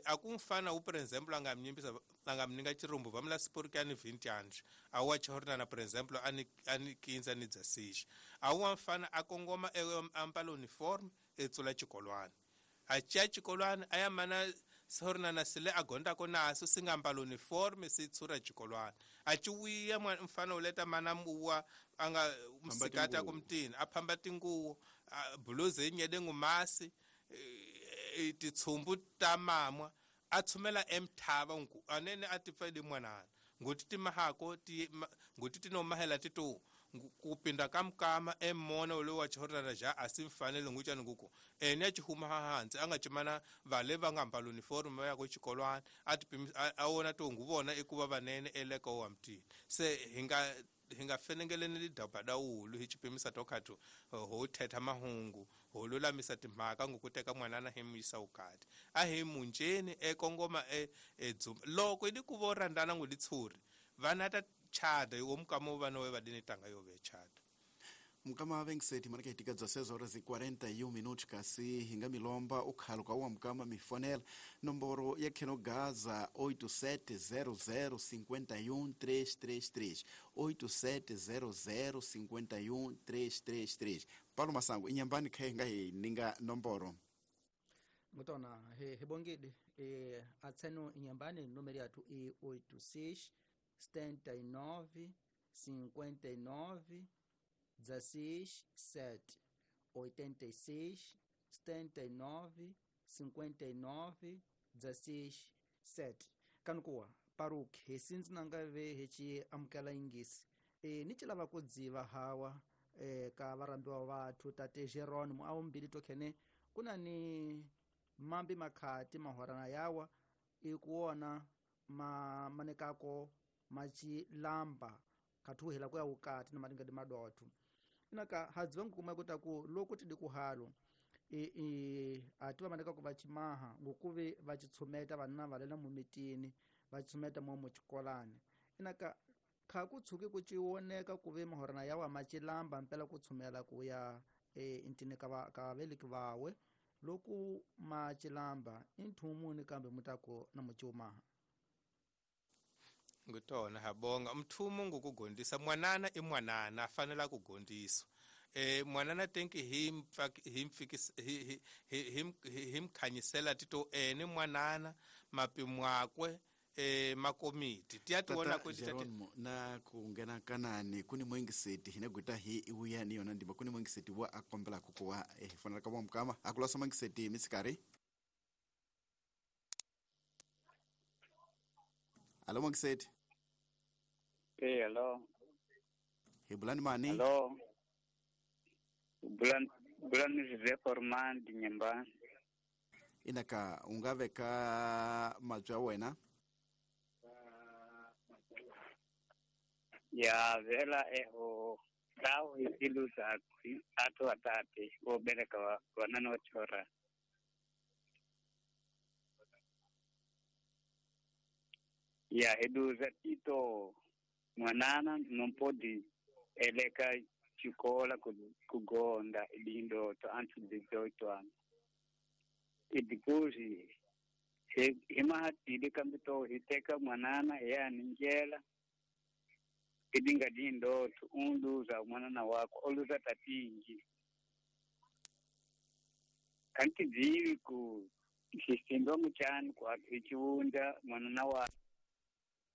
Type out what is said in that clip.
A ku mfana wu, por exemple, a nga mi nyimbisa, a nga mi ninga chirumbu va mula sipurikani 20 anos a wa chihornana, por exemple, a ni 15 ni 16, a wa mfana a kongoma ambala uniforme etsula xikolwana, a ciya xikolwana, a ya mana sihornana sile a gondako naso si nga ambala uniforme, si tshura xikolwana, a ci wuya mfana wu leta mana muwa a nga msikati a ku mutini a phamba tinguwo, buluzi yi nyede ngumasi, titshumbu ta mamwa, a tshumela emthava nku anene a ti pfeli mwanana nguti timahako ti nguti tinomahela tito kupinda kamukama emona ule wa chihorana ja a si mfanele nguchani nguku ene a chihuma hansi a nga chimana vale va nga ambala uniforme va ya ku xikolwana, a ti a wona to nguvona i ku va vanene eleka wa mutini. Se hi nga fenengeleni lidaba dawulu hi xipimisa to khathu ho thetha mahungu, ho lulamisa timhaka ngokuteka mwanana hi muyisa ukati, a hi munjeni ekongoma edzumba loko idi ku vo rhandzana ngu litshuri vana ta chada wo mukama wo vana we vadini tanga yo ve chada. Mukama vengiseti manake hitika 16 horas e 41 minutos, kasi hinga milomba ukhalo ka wa mukama mifonela nomboro ya kheno gaza 8700 51333, 8700 51333. Paulo Masango inyambani khe nga hi ninga nomboro. Ngutona he hebongide atseno inyambani numero yathu i 86 79 59 16 7, 86 79 59 16 7. Kanukuwa paruki hi sindzi nanga ve hi ci amukela yingisi ni ci lava ku dziva hawa ka varhambiwa vathu tate Geronimo awumbili tokhene kuna ni mambi makhati mahorana yawa i kuwona ma manekako macilamba khathuhela ku ya wukati na maringadi madotho inaka hadziva nkuma kuta ku loko tidi kuhalo i ati va manekako va cimaha ngokuve va citshumeta vanna valela mumitini, va tshumeta mo muxikolani, inaka kha ku tshuki ku ciwoneka ku ve mahorana yawa macilamba mpela ku tshumela ku ya intini ka va ka veliki vawe loku macilamba i nthumuni kambe mutaku na muciumaha. Ngutona habonga mthumu ngukugondisa mwanana i mwanana a fanela ku gondiswa mwanana tenki hi hi hi hi mkhanyisela tito ene mwanana mapimwakwe makomiti tiyatiwona. Ku Geronimo na ku nghena kanani kuni mwengiseti hina gwita hi iwuya ni yona ndima kuni mwengiseti wa akombela kukuwa hi fanela ka mukama akulasa mwengiseti misikari. Alo mwengiseti. Hey, hello. Hi bulani mani? Hello. Bulan bulan José Formandi Nyambani. Inaka u nga veka mabya ya wena. Ya vela eho tawo hiziluza atu watate wobereka wanana wachora. Ya heduza tito mwanana nompodi eleka chikola kugonda ilindoto antu 18 anos. E depois himahatile kambito hiteka mwanana yaninjela idinga dindoto unduza mwanana wako oluza tatingi kanti dzivi ku xisindo muchani ku hichiunda mwanana wa.